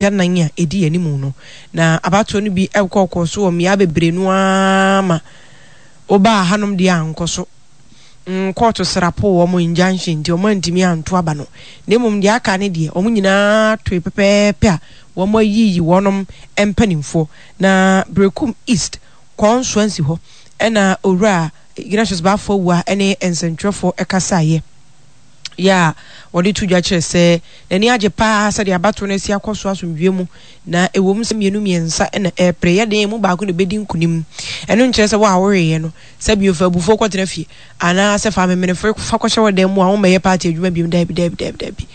Anan a ɛdi anim no, na abatoɔ no bi kɔkɔɔ so wɔ mmea bebree no ara ma wobaa hanom deɛ ankɔ so. Kɔɔto srapoo wɔn injunction nti wɔn antumi anto aba no. Na mmom deɛ aka ne deɛ wɔn nyinaa toe pɛpɛɛpɛ a wɔn ayiyi wɔnom mpanimfoɔ. Na Berekum East kɔnsoansi hɔ ɛna Owura Ignatius Baffour Awuah ne nsɛntwerɛfoɔ kasaeɛ. yɛ a wɔde to dwa kyerɛ sɛ n'ani agye paa sɛdeɛ abatoɔ no asi akɔ so asomdwoeɛ mu, na ɛwom sɛ mmienu mmiɛnsa na ɛrepere, yɛ den emu baako na ɛbɛdi nkonim. Ɛno nkyerɛ sɛ wo a woweeɛ no, sɛ bio fa abufuo kɔtena fie, anaa sɛ fa amemenefoɔ fa kɔhyɛ wo dan mu a wommɛyɛ party adwuma biom, daabi, daabi, daabi, daabi.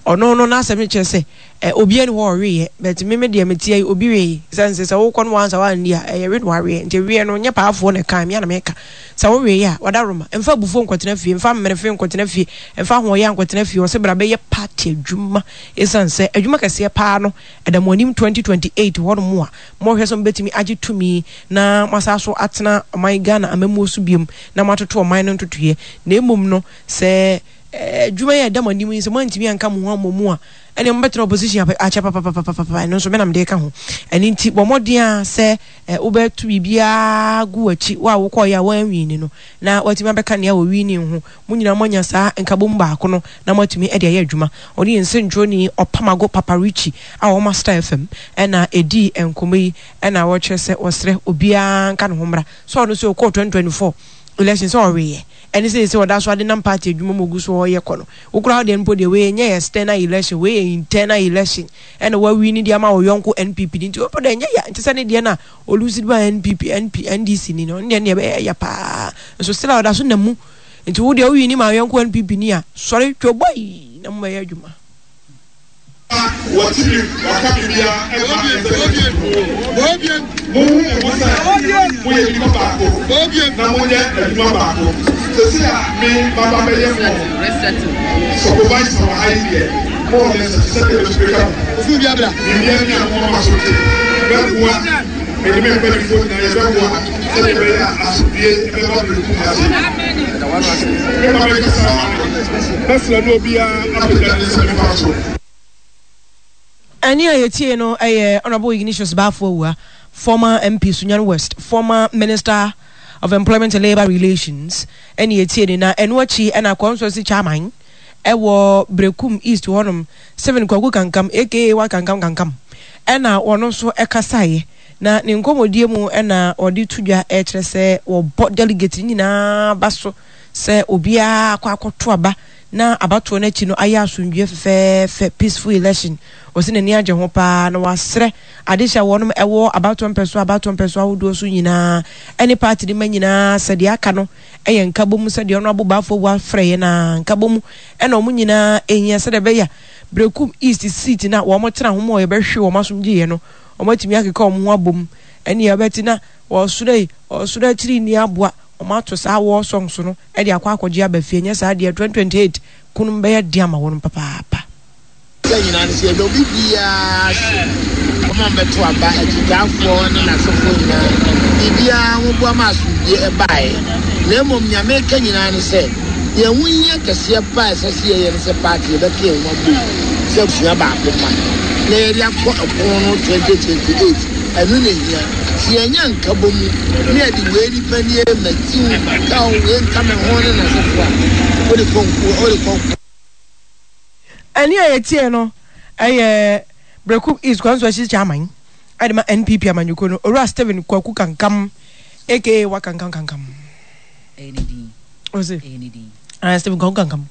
Ɔno no n'asɛm no kyerɛ sɛ Ɛ obiara nni hɔ a ɔweeɛ but me me deɛ meteɛ yi obi wee sɛ nse sɛ wokɔ no wansa wanni a ɛyɛ we na waweɛ nti weɛ no nyɛ paafoɔ na ɛka me a na meka sɛ wo weeɛ a wadaroma mfa abufuo nkɔtena fie mfa mmerefe nkɔtena fie mfa ahoɔyɛ nkɔtena fie ɔse bra bɛyɛ party adwuma ɛsiane sɛ adwuma kɛseɛ paa no ɛda mo anim 2028 hɔ nom a mohwɛ sɛ mobɛtumi agye tumi na moasa so atena ɔman Ghana amammuo so biom na moatoto ɔman no ntotoeɛ na mmom no sɛ adwuma yi a ɛda mo anim yi sɛ moantumi anka mo ho ammɔ mu a ɛneɛ mobɛtena opposition akyɛ papapapapapa, ɛno nso me na mede reka ho. Ɛno nti bɔ mmɔden ara sɛ wobɛto biribiara gu w'akyi, wo a wokɔeɛ a woanwini no, na woatumi abɛka nea wɔwini ho. Mo nyinaa moanya saa nkabom baako no na moatumi de ayɛ adwuma. Ɔne yɛn nsɛntwerɛni Ɔpamago Papa Richie a ɔwɔ Master FM na ɛdii nkɔmmɔ yi na ɔkyerɛ sɛ ɔsrɛ obiara nka ne ho mmra sɛ ɔno nso ɔkɔɔ 2024 election sɛ ɔweeɛ. Ɛne seesei ɔda so adenam party adwuma mu ogu so ɔyɛ kɔ no. Wo koraa wo deɛ no mpo deɛ wei ɛnyɛ external election, wei yɛ internal election ɛna wa wini de ama wo yɔnko NPP ni nti wo mpo deɛ ɛnyɛ ya nte sɛ ne deɛ no a o lose de ma NPP, NP, NDC ni no, ɔno deɛ no deɛ ɛbɛyɛ ya paa nso still a ɔda so nam mu nti wo deɛ wo wini ma wo yɔnko NPP ni a sɔre twoboi na mo bɛyɛ adwuma. Wɔte bi, wɔaka biribiara ɛmfa nsɛm ho. Monhu mo ho sɛ moyɛ nnipa baako na monyɛ adwuma baako. Seesei a me maba bɛyɛ mo supervisor wɔ ha yi deɛ, more or less ɛte sɛ deɛ mɛtumi ka mo. Biribiara ni a momma m'aso nte. Mɛboa, me ne me mpanimfoɔ nyinaa yɛbɛboa sɛdeɛ ɛbɛyɛ a asomdwoeɛ bɛba Berekum ha sei. Me ma mɛkasa ama no. Mɛsrɛ na obiara apagya ne nsa nifa so. Ɛnne a yɛtiee no yɛ Honourable Ignatius Baffour Awuah, former MP Sunyani West, former Minister of Employment and Labour Relations ɛne yɛtiee no na ɛno akyi ɛna Constituency Chairman ɛwɔ Berekum East hɔnom Stephen Kwaku Kankam aka Wa Kankam Kankam ɛna ɔno nso ɛkasaeɛ na ne nkɔmmɔdie mu ɛna ɔde to dwa ɛkyerɛ sɛ wɔbɔ delegate no nyinaa ba so sɛ obiara akɔ akɔto aba na abatoɔ no akyi no ayɛ asomdwoeɛ fɛfɛɛfɛ, peaceful election. Ɔse n'ani agye ho paa na wasrɛ adehye a wɔnom ɛwɔ abatoɔ mpɛsoa abatoɔ mpɛsoa ahodoɔ so nyinaa ɛne party no mma nyinaa sɛ deɛ aka no ɛyɛ nkabom sɛdeɛ Honourable Baffour Awuah frɛ yɛn a nkabom ɛna wɔn nyinaa ɛhia sɛdeɛ ɛbɛyɛ a Berekum East seat no a wɔn tena ho ma yɛbɛhwe wɔn asomdwoeɛ no wɔn atumi akeka wɔn ho abom ɛne ɛbɛte na wɔsoro yi ɔsoro akyiri nni aboa Wɔato saa war songs no de akɔ akɔgye aba fie, anyɛ saa deɛ 2028 ko no bɛyɛ den ama wɔn papaapa. Sɛ nyinaa no sɛ yɛda obi biara ase, wɔn a wɔbɛto aba, akyitaafoɔ ne n'asefoɔ nyinaa, biribiara wɔboa ma asomdwoeɛ baeɛ. Na mmom nea meka nyinaa ne sɛ, deɛ ɛho hia kɛseɛ paa a ɛsɛ sɛ yɛyɛ ne sɛ party yɛbɛka yɛn ho abom sɛ abusua baako mma na yɛde akɔ ɛko no 2028. Ɛno na ehia. Sɛ yɛanya nkabom na yɛde wei nipa nie, matiw, makaw, wei nka me ho ne n'asefo a, wode kɔ nko, wode kɔ nko. Ɛnne a yɛtiee no yɛ Berekum East Constituency Chairman de ma NPP amanyɔkuo no, Owura Stephen Kwaku Kankam aka Wakankam Kankam. Ɛyɛ ne din. Ose. Ɛyɛ ne din. Ah, Stephen Kwaku Kankam.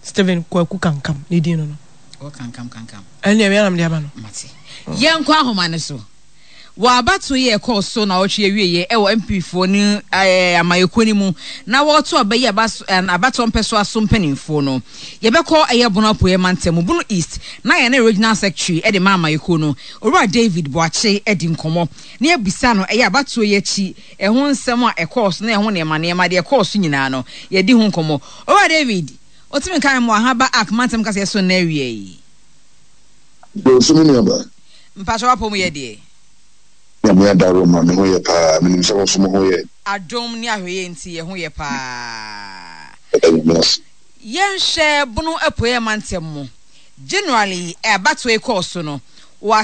Stephen Kwaku Kankam ne din no no. Ɔ kankam kankam. Ɛnneɛ me ara na mede aba no. Mate. Yɛnkɔ ahoma no so. Wɔ abatoɔ yi a ɛkɔɔ so naawɔtwe awieɛ wɔ MP foɔ no amayɛkuo no mu na wɔreto aba yi abatoɔ mpɛsoa so mpaninfoɔ no, yɛbɛkɔ ɛyɛ Bono Apueɛ mantam mu, Bono East, na yɛne Regional Secretary de ma amayɛkuo no, Owura David Boakye adi nkɔmmɔ na yɛabisa no ɛyɛ abatoɔ yi akyi ɛho nsɛm a ɛkɔɔ so na ɛho nneɛma nneɛma deɛ ɛkɔɔ so nyinaa no yɛadi ho nkɔmmɔ. Owura David, Otumi nka mmoa ha ba Ark mantam kaseɛ so nnɛ awia yi. Dɔɔso me nuabaa. Mpakyɛw w'apɔ mu yɛ deɛ? Nyame adaworoma me ho yɛ paa, menim sɛ wo nso mo ho yɛ. Adom ne ahwɛyɛ nti yɛ ho yɛ paa. Yɛda Nyame ase. Yɛnhwɛ Bono Apueɛ mantam mu. Generally abatoɔ yi kɔɔ so no.